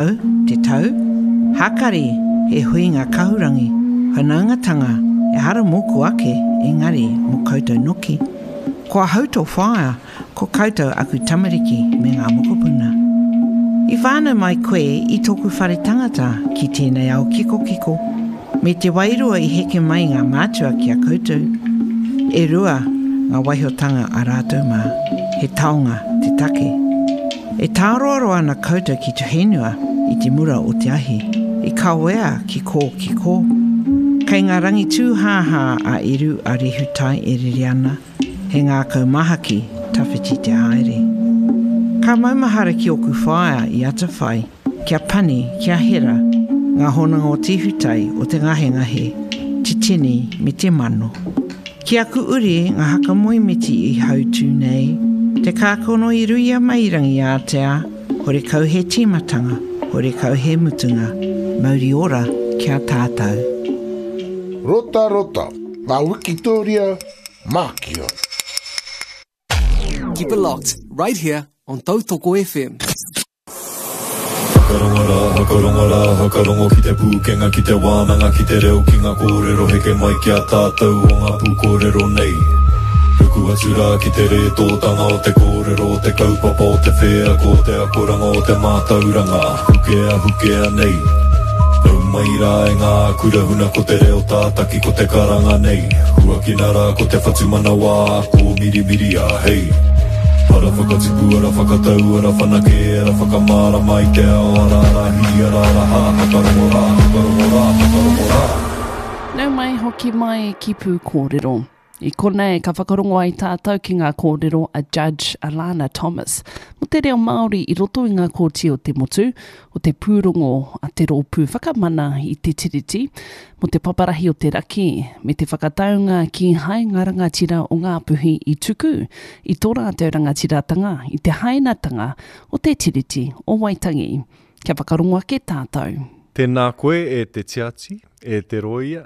Au, te tau, Hākari, he huinga kahurangi, whanaungatanga, ehara mōku ake, engari mō koutou noki. Ko ahau tō whaea, ko koutou aku tamariki me ngā mokopuna. I whānau mai koe i tōku whare tangata ki tēnei ao kikokiko, me te wairua i heke mai ngā mātua ki a koutou. E rua ngā waihotanga a rātou mā, he taonga te take. E tāroaroa ana koutou ki te whenua i te mura o te ahi, i kawea ki kō ki kō. Kei ngā rangi tūhāhā a Eru a Rehutai e rere ana, he ngākau mahaki tawhiti te haere. Ka maumahara ki ōku whaea i atawhai, kia Pani, kia Hera, ngā hononga o te ihutai, o te ngahengahe, te tini me te mano. Ki aku uri ngā haka moemiti i hautū nei, te kākono i ruia mai i Rangiātea, horekau he tīmatanga, horekau he mutunga, mauri ora ki a tātou. Rotarota, ngā wikitōria Mākia. Keep it locked right here on Tautoko FM. Whakarongo rā, whakarongo rā, whakarongo ki te pūkenga, ki te wānanga, ki te reo, ki ngā kōrero heke mai ki a tātou o ngā pūkōrero nei. Ruku atu rā ki te rētōtanga o te kōrero, o te kaupapa, o te wheako, o te akoranga, o te mātauranga, hukea, hukea nei. Nau mai rā e ngā kura huna ko te reo tātaki ko te karanga nei. Huakina rā ko te whatumanawa, kōmirimiria, hei. Ara whakatipu, ara whakatau, ara whanake, ara whakamārama i te ao, ara ara hī, ara ara hā, whakarongo rā, whakarongo rā, whakarongo rā. Nau mai hoki mai ki Pūkōrero. I konei ka whakarongo ai tātou ki ngā kōrero a Judge Alana Thomas mō te reo Māori i roto i ngā kōti o te motu, o te pūrongo a te Rōpū Whakamana i te Tiriti, mō te paparahi o te raki, me te whakataunga kīhai ngā rangatira o Ngāpuhi i tuku i tō rātou rangatiratanga i te hainatanga o te Tiriti o Waitangi. Kia whakarongo ake tātou. Tēnā koe e te tiati, e te rōia,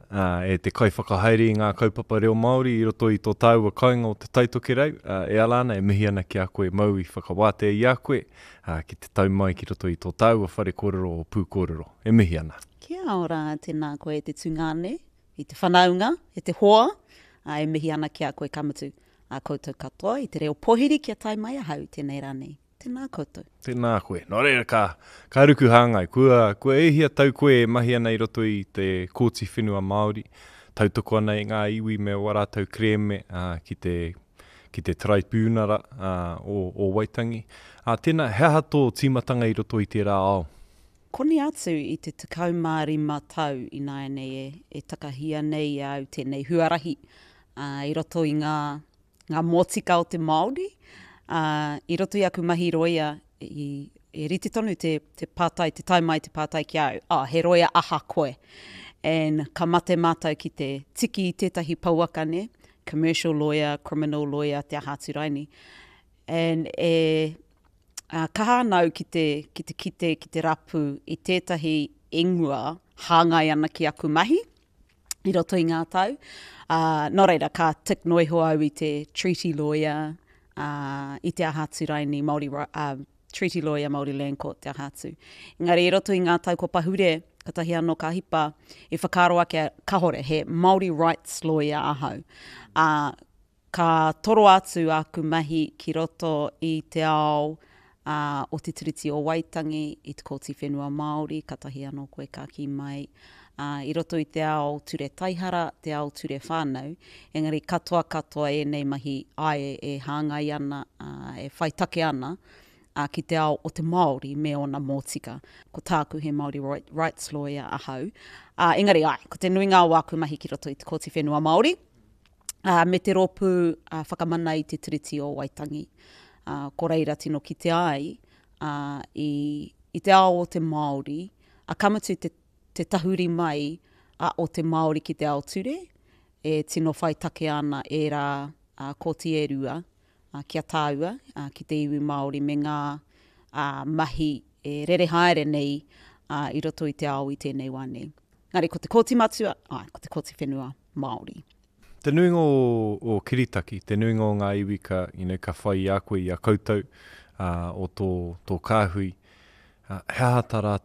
e te kaiwhakahaere i ngā kaupapa reo Māori i roto i tō tāua kāinga o Te Tai Tokerau, e ala ana, e mihi ana ki a koe, mau i whakawātea i a koe, ki te tau mai ki roto i tō tāua whare kōrero o Pūkōrero. E mihi ana. Kia ora, tēnā koe e te tungāne, i te whanaunga, e te hoa, ā, e mihi ana ki a koe ka mutu, ā koutou katoa i te reo pohiri kia tae mai ahau i tēnei rā nei. Tēnā koutou. Tēnā koe. Nō reira, ka, ka ruku hāngai. Kua, kua e hia tau koe e mahi ana i roto i te Kōti Whenua Māori, tautoko ana i ngā iwi me wā rātou kerēme, ā, ki te, ki te Taraipiunara, ā, o, o Waitangi. Ā, tēnā, he aha tō tīmatanga i roto i tērā ao? Koni atu i te 15 tau ināianei e, e takahia nei e au tēnei huarahi, ā, i roto i ngā, ngā mōtika o te Māori, ā, i roto i aku mahi rōia, i, e rite tonu te, te pātai, te tae mai te pātai ki a au, oh, he rōia aha koe? And ka mate mātou ki te tiki i tētahi pouaka, nē, commercial lawyer, criminal lawyer, te aha atu raini. And e, Ā, kaha ana au ki te, ki te kite, ki te rapu i tētahi ingoa hāngai ana ki aku mahi i roto i ngā tau. Ā, nō reira, ka tick noa iho au i te treaty lawyer, ā, i te aha atu raini, Māori, ā, treaty lawyer, Māori Land Court, te aha atu. Engari i roto i ngā tau kua pahure, katahi anō ka hipa, i whakaaro ake, kahore, he Māori rights lawyer ahau. Ā, Ka toro atu āku mahi ki roto i te ao o Te Tiriti o Waitangi, i Te Kōti Whenua Māori, katahi anō koe ka kī mai, i roto i te ao ture taihara, te ao ture whānau, engari katoa katoa ēnei mahi āe e hāngai ana, e whai take ana ki te ao o te Māori me ōna mōtika. Ko tāku he Māori rights lawyer ahau, engari āe, ko te nuinga o āku mahi ki roto i Te Kōti Whenua Māori, ā, me te Rōpū Whakamana i te Tiriti o Waitangi. Ā, ko reira tino kitea ai, ā, i, i te ao o te Māori, ā, ka mutu te, te tahuri mai a o te Māori ki te ao ture, e tino whai take ana ērā ā, kōti e rua, ā, ki a tāua, ā, ki te iwi Māori me ngā, ā, mahi e rere haere nei, ā, i roto i te ao i tēnei wā nei. Engari ko te kōti matua, āe, ko te kōti whenua Māori. Te nuinga o, o kiritaki, te nuinga o ngā iwi ka, you know, ka whai i a koe, i a koutou, ā, o tō, tō kāhui. He aha tā rātou?